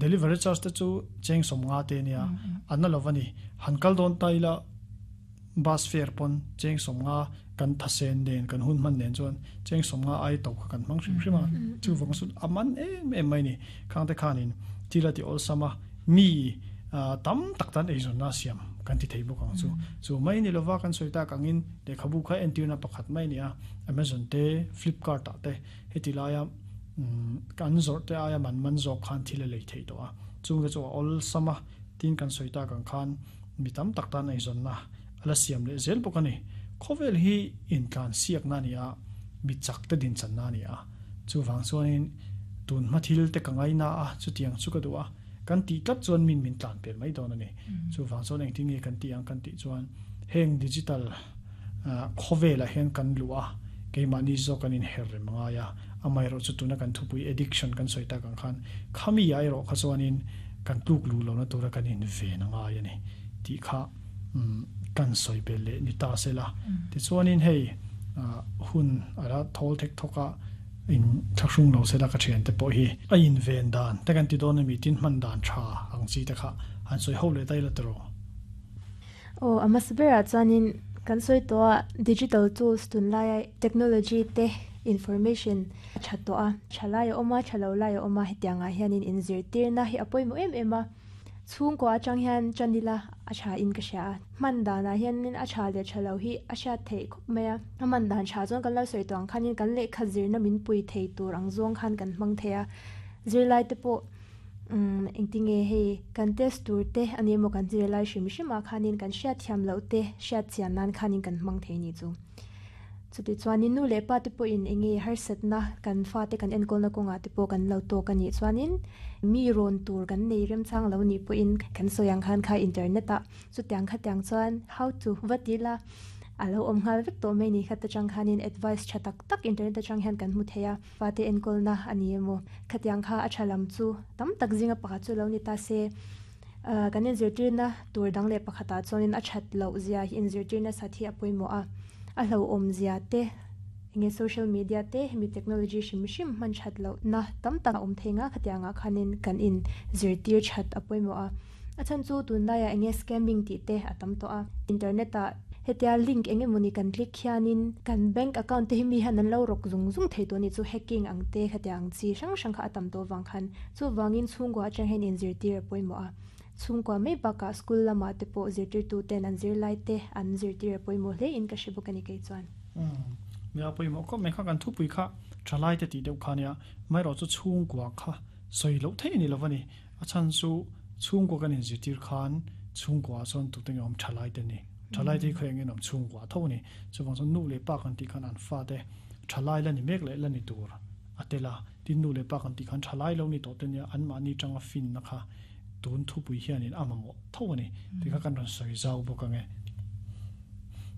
Delivery charge te chu cheng 50 te ania, a na lo a ni. Han kal dawn ta ila bus fare pawn cheng 50 kan thasen nen kan hun hman nen chuan cheng 50 ai to kha kan hmang hrim hrim a. Chuvang chu a man em em mai a ni. Khang te khanin thil a ti awlsam a, mi tam tak tan eizawnna a siam kan ti thei bawk ang chu. Chu mai ni lova kan sawi tak angin lehkhabu kha entirna pakhat mai a ni a, Amazon te, Flipkart ah te heti laia kan zawrh te aia man man zawk khan thil a lei theih tawh a, chungte chu a awlsam a, tin kan sawi tak ang khan mi tam tak tan eizawnna a la siam leh zel bawk a ni. Khawvel hi intlansiakna a ni a, mi chak te dinchanna a ni a, chuvang chuanin tun hma thil te ka ngaina a, chutiang chu ka duh a, kan tih tlat chuan min min tlan pel mai dawn a ni. Chuvang chuan engtin nge kan tih ang kan tih chuan heng digital khawvelah hian kan luh a, keimahni zawk kan inher rem a ngai a, amaherawh chu tuna kan thupui addiction kan sawi tak ang khan khami ah erawh kha chuanin kan tluk luh lohna tura kan inven a ngai a ni tih kha kan sawi belh leh ni ta se la. Tichuanin hei hun a la thawl thek thawk a, in thlahrung lo se la ka thiante pawh hi a inven dan te kan ti dawn a mi tin hman dan tha ang chi te kha han sawi ho leh daih la tiraw. Aw, a hmasa berah chuanin kan sawi tawh a, digital tools tunlaia technology te information a tha tawh a, tha lai a awm a, tha lo lai a awm a, hetiangah hianin inzirtirna hi a pawimawh em em a, chhungkua atang hian tan ila a tha in ka hria a, hman danah hianin a tha leh tha lo hi a hriat theih khawp mai a, a hman dan tha chuan kan lo sawi tawh ang khanin kan lehkha zirna min pui thei tur ang zawng khan kan hmang thei a, zirlai te pawh. Umm engtinge hei kan test tur te a ni emaw kan zirlai hrim hrim ah khanin kan hriatthiam loh te hriat chian nan khanin kan hmang thei ni chu. Chuti chuanin nu leh pa te pawhin enge harsatna kan fate kan enkawlna kawngah te pawh kan lo tawk a nih chuanin mi rawn tur kan nei remchang lo nih pawhin kan sawi ang khan kha internet ah chutiang khatiang chuan how to va ti la a lo awm nghal vek tawh mai ni kha ta chang khanin advice tha tak tak internet atang hian kan hmu thei a. Fate enkawlna a ni emaw? Khatiang kha a tha lam chu tam tak zinga pakhat chu lo ni ta se. Kan inzirtirna tur dang leh pakhatah chuanin a that loh zia hi inzirtirna sat hi a pawimawh a. A hlauhawm zia te, enge social media te, hemi technology hrim hrim hman that lohna tam tak a awm thei nga khatiangah khanin kan inzirtir that a pawimawh a. A chhan chu tunlaiah enge scamming tih te a tam tawh a, internet ah hetia link eng emawni kan click hianin kan bank account te hi mi hian an lo rawk zung zung thei tawh a ni chu hacking ang te khatiang ang chi hrang hrang kha a tam tawh avang khan chuvangin chhungkua atang hian inzirtir a pawimawh a, chhungkua mai bakah school lamah te pawh zirtirtu ten an zirlai te an zirtir a pawimawh hle in ka hre bawk a ni kei chuan. Umm nia pawimawh khawp mai kha kan thupui kha thalai te tih deuh kha nia amaherawh chu chhungkua kha sawi loh theih a ni lo va ni. A chhan chu chhungkua kan inzirtir khan chhungkuaah chuan tute nge awm thalai te ni. Thalai te hi khawi engin awm chhungkua tho a ni. Chuvang chuan nu leh pa kan tih khan an fate thalai la ni mek leh la ni tur a tel a. Tin nu leh pa kan tih khan thalai lo ni tawh te nia anmahni tanga finna kha tun thupui hianin a mamawh tho a ni. Tih kha kan rawn sawi zau bawk ang e.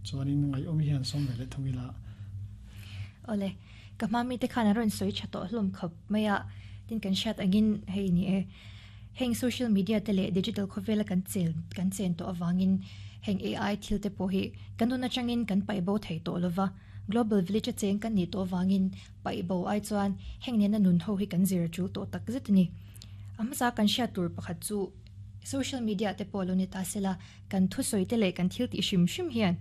Chuanin ngaihawm hian sawm ve leh thung ila. Awle, ka hma mite khan an rawn sawi tha tawh hlawm khawp mai a, tin kan hriat angin hei ni e, heng social media te leh digital khawvela kan chel kan chen tawh avangin heng AI thil te pawh hi kan nun atangin kan paih bo thei tawh lova, global village a cheng kan nih tawh avangin paih bo ai chuan heng nena nun ho hi kan zir a tul tawh tak zet a ni. A hmasa kan hriat tur pakhat chu social media te pawh lo ni ta sela, Kan thusawi te leh kan thil tih hrim hrim hian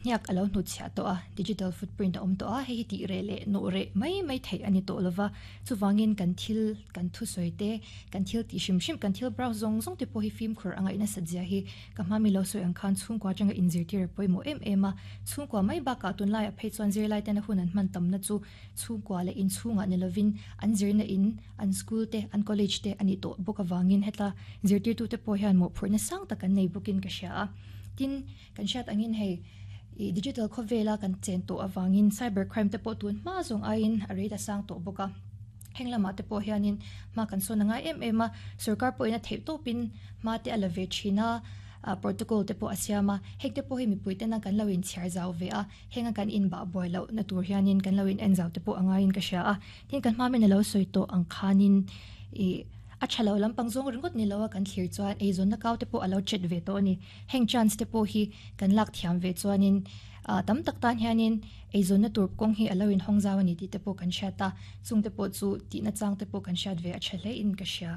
hniak a lo hnutchhiah tawh a, digital footprint a awm tawh a, hei hi tih reh leh nawh reh mai mai theih a ni tawh lova, chuvangin kan thil, kan thusawi te, kan thil tih hrim hrim, kan thil browse zawng zawng te pawh hi fimkhur a ngaih nasat zia hi ka hma mi lo sawi ang khan chhungkua atanga inzirtir a pawimawh em em a, chhungkua mai bakah tunlaiah phei chuan zirlai tena hun an hman tamna chu chhungkua leh inchhungah ni lovin an zirna in an school te, an college te a nih tawh bawk avangin heta zirtirtute pawh hian mawhphurhna sang tak an nei bawkin ka hria a. Tin, kan hriat angin hei ih digital khawvela kan chen tawh avangin cyber crime te pawh tun hma zawng aiin a rate a sang tawh bawk a. Heng lamah te pawh hianin hma kan sawn a ngai em em a, sorkar pawhin a theih tawpin hma te a la ve thin a, protocol te pawh a siam a, heng te pawh hi mipui tena kan lo inchhiar zau ve a. Henga kan inbah buai loh na tur hianin kan lo in en zau te pawh a ngaiin ka hria a, tin kan hma min a lo sawi tawh ang khanin ih a tha lo lampang zawng ringawt ni lo a kan thlir chuan eizawnna kau te pawh a lo chet ve tawh a ni. Heng chance te pawh hi kan lak thiam ve chuanin ah tam tak tan hianin eizawnna tur kawng hi a lo inhawng zau a ni tih te pawh kan hriat a, chung te pawh chu tihna chang te pawh kan hriat ve a tha hle in ka hria.